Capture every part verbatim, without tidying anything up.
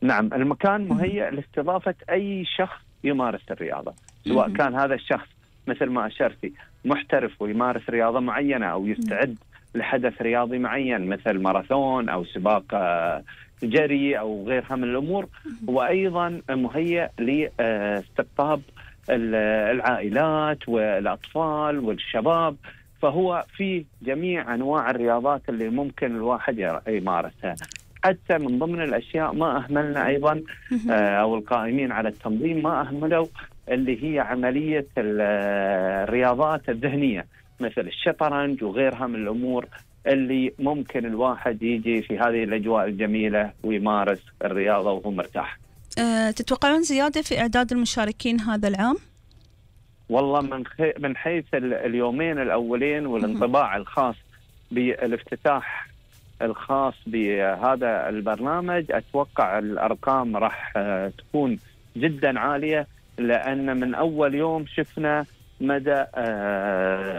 نعم، المكان مهيأ لاستضافة أي شخص يمارس الرياضة، سواء كان هذا الشخص مثل ما أشرتي محترف ويمارس رياضة معينة، أو يستعد لحدث رياضي معين مثل ماراثون أو سباق جري أو غيرها من الأمور. وأيضا مهيأ لاستقطاب العائلات والأطفال والشباب، فهو في جميع أنواع الرياضات اللي ممكن الواحد يمارسها. حتى من ضمن الأشياء ما أهملنا أيضا أو القائمين على التنظيم ما أهملوا اللي هي عملية الرياضات الذهنية مثل الشطرنج وغيرها من الأمور اللي ممكن الواحد يجي في هذه الأجواء الجميلة ويمارس الرياضة وهو مرتاح. أه تتوقعون زيادة في إعداد المشاركين هذا العام؟ والله من خي... من حيث اليومين الأولين والانطباع الخاص بالافتتاح الخاص بهذا البرنامج، أتوقع الأرقام راح تكون جدا عالية، لأن من أول يوم شفنا مدى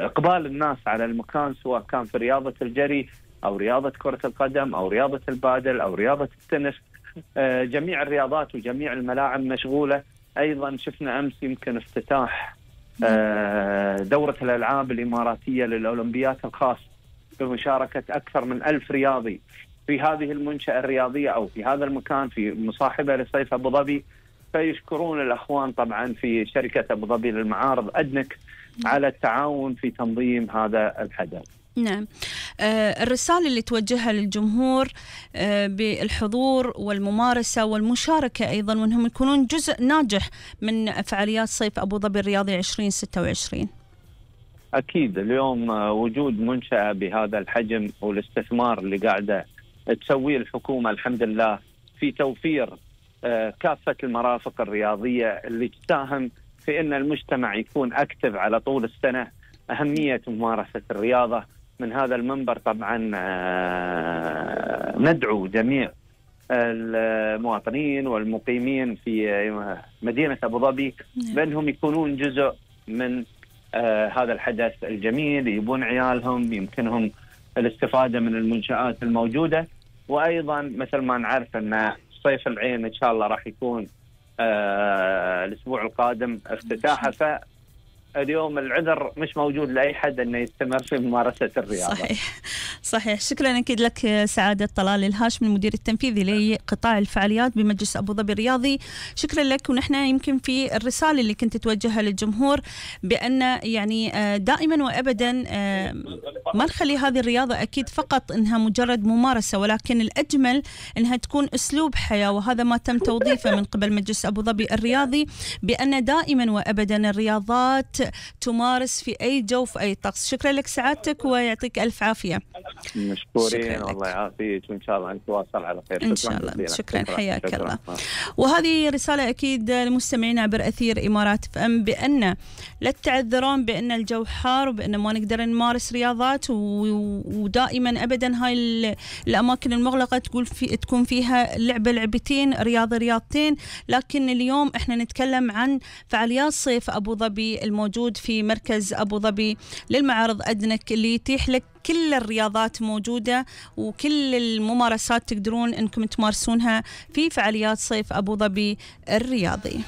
إقبال الناس على المكان، سواء كان في رياضة الجري أو رياضة كرة القدم أو رياضة البادل أو رياضة التنس. جميع الرياضات وجميع الملاعب مشغولة. أيضا شفنا أمس يمكن افتتاح دورة الألعاب الإماراتية للأولمبيات الخاص بمشاركة أكثر من ألف رياضي في هذه المنشأة الرياضية أو في هذا المكان في مصاحبة لصيف أبو ظبي. فيشكرون الأخوان طبعا في شركة أبو ظبي للمعارض أدنك على التعاون في تنظيم هذا الحدث. نعم. آه الرسالة اللي توجهها للجمهور آه بالحضور والممارسة والمشاركة أيضا، وأنهم يكونون جزء ناجح من فعاليات صيف أبو ظبي الرياضي عشرين ستة وعشرين. أكيد اليوم وجود منشأة بهذا الحجم والاستثمار اللي قاعدة تسويه الحكومة الحمد لله في توفير كافة المرافق الرياضية اللي تساهم في أن المجتمع يكون أكتف على طول السنة. أهمية ممارسة الرياضة من هذا المنبر طبعا ندعو جميع المواطنين والمقيمين في مدينة أبو ظبي بأنهم يكونون جزء من هذا الحدث الجميل، يبون عيالهم يمكنهم الاستفادة من المنشآت الموجودة. وأيضا مثل ما نعرف أن صيف العين إن شاء الله راح يكون آه الأسبوع القادم افتتاحه، فاليوم العذر مش موجود لأي حد أنه يستمر في ممارسة الرياضة. صحيح صحيح. شكرا أكيد لك سعادة طلال الهاشم المدير التنفيذي لقطاع الفعاليات بمجلس أبو ظبي الرياضي. شكرا لك. ونحن يمكن في الرسالة اللي كنت توجهها للجمهور بأن يعني دائما وأبدا ما نخلي هذه الرياضة أكيد فقط إنها مجرد ممارسة، ولكن الأجمل إنها تكون أسلوب حياة، وهذا ما تم توظيفه من قبل مجلس أبو ظبي الرياضي، بأن دائما وأبدا الرياضات تمارس في أي جو في أي طقس. شكرا لك سعادتك ويعطيك ألف عافية. مشكورين والله يعافيك، وإن شاء الله نتواصل على خير. إن شاء الله. شكرا حياك الله. وهذه رسالة أكيد للمستمعين عبر أثير إمارات اف ام بأن لا تعذرون بأن الجو حار وبأن ما نقدر نمارس رياضات، ودائما أبدا هاي الأماكن المغلقة تقول في تكون فيها لعبة لعبتين رياضة رياضتين. لكن اليوم احنا نتكلم عن فعاليات صيف أبو ظبي الموجود في مركز أبو ظبي للمعارض أدنك، اللي يتيح لك كل الرياضات موجودة وكل الممارسات تقدرون أنكم تمارسونها في فعاليات صيف أبو ظبي الرياضي.